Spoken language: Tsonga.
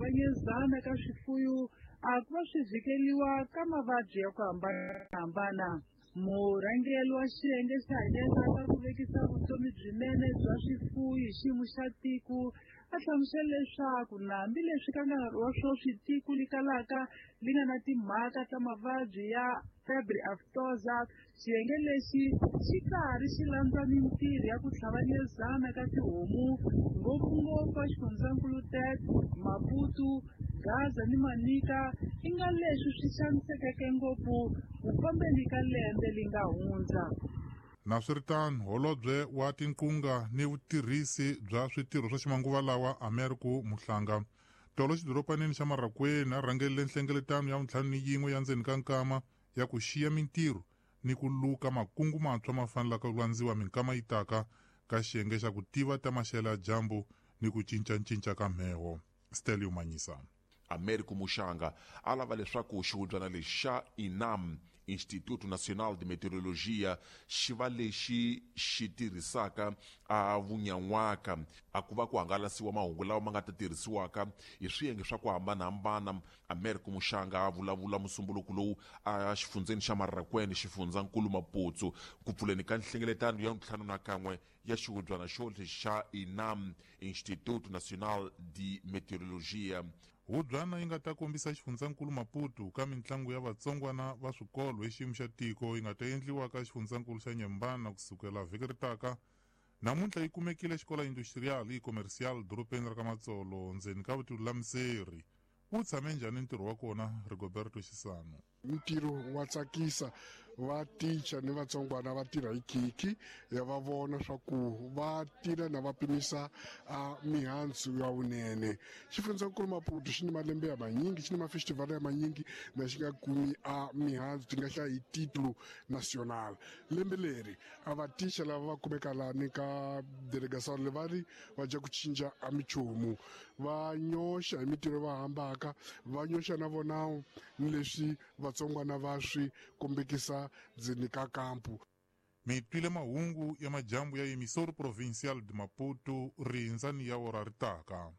tlhavanyezana ka swifuyo a ku va swi vhikeliwa ka mavabyi ya ku hambanahambana. Murhangeri wa xiyenge xa hanyeza ka ku vekisa vutomi byinene bya swifuwo hi xiyimo xa tiko a hlamusela leswaku na hambileswi ka nkarhi wa sweswi tiko li kalaka li nga na timhaka ta mavabyi ya febre aftosa, xiyenge lexi xi karhi xi landza mintirho ya ku tlhavanyezana ka tihomu ngopfungopfu a xifundzankulu Tete, Maputo, Gaza ni Manica i nga leswi swi xanisekeke ngopfu ku fambeni ka lembe li nga hundza. Naswiritano, holobye wa tinqunga ni vutirhisi bya switirho swa ximanguva lawa Americo Muhlanga tolo xidoropanini xa Marrakwena a rhangelele nhlengeletano ya 51 ya ndzeni ka nkama ya ku xiya mintirho ni ku luka makungu mantshwa ma fanelaka ku landziwa minkama yi taka ka xiyenge xa ku tiva ta maxelo ya dyambu ni ku cincacinca ka mheho. Stelio Manyisa. Americo Muxanga a lava leswaku xihubyana lexi xa INAM, Instituto Nacional de Meteorologia, xi va lexi xi tirhisaka a vunyan'waka a ku va ku hangalasiwa mahungu lawa ma nga ta tirhisiwaka hi swiyenge swa ku hambanahambana. Americo Muxanga a vulavula musumbuluko lowu a xifundzeni xa Marrakwene, xifundzankulu Maputo, ku pfuleni ka nhlengeletano ya 51 ya xihubyana xo lexi xa INAM, Instituto Nacional de Meteorologia. Hubyana yi nga ta kombisa xifundzankulu Maputo ka mitlangu ya vatsongwana va swikolo hi xiyimo xa tiko yi nga ta endliwa ka xifundzankulu xa Nyembana kusukela vhiki ri taka. Namuntlha yi kumekile xikola industrial i commercial dorobeni ra ka Matsolo ndzeni ka vutiulamiseri. Wu tshame njhani ntirho wa kona, Rigoberto Xisano? Ntirho wa tsakisa, va ticha ni vatsongwana va tirha hi khikhi ya va vona swa ku va tirha na va pimisa a mihandzu ya vunene. Xifundzankulu Maputo xi ni malembe ya manyingi, xi ni mafestival ya manyingi na xi nga kumi a mihandzu ti nga hlaya hi titulu national. Lembe leri a va ticha lava va kumeka lani ka delegação le va ri va dya ku cinca a michumu, va nyoxa hi mintirho va hambaka, va nyoxa na vona ni leswi vatsongwana va swi kombekisa ndzeni ka kampu. Mi twile mahungu ya majambu ya Emissor Provincial de Maputo, rindza ni ya ora ri taka.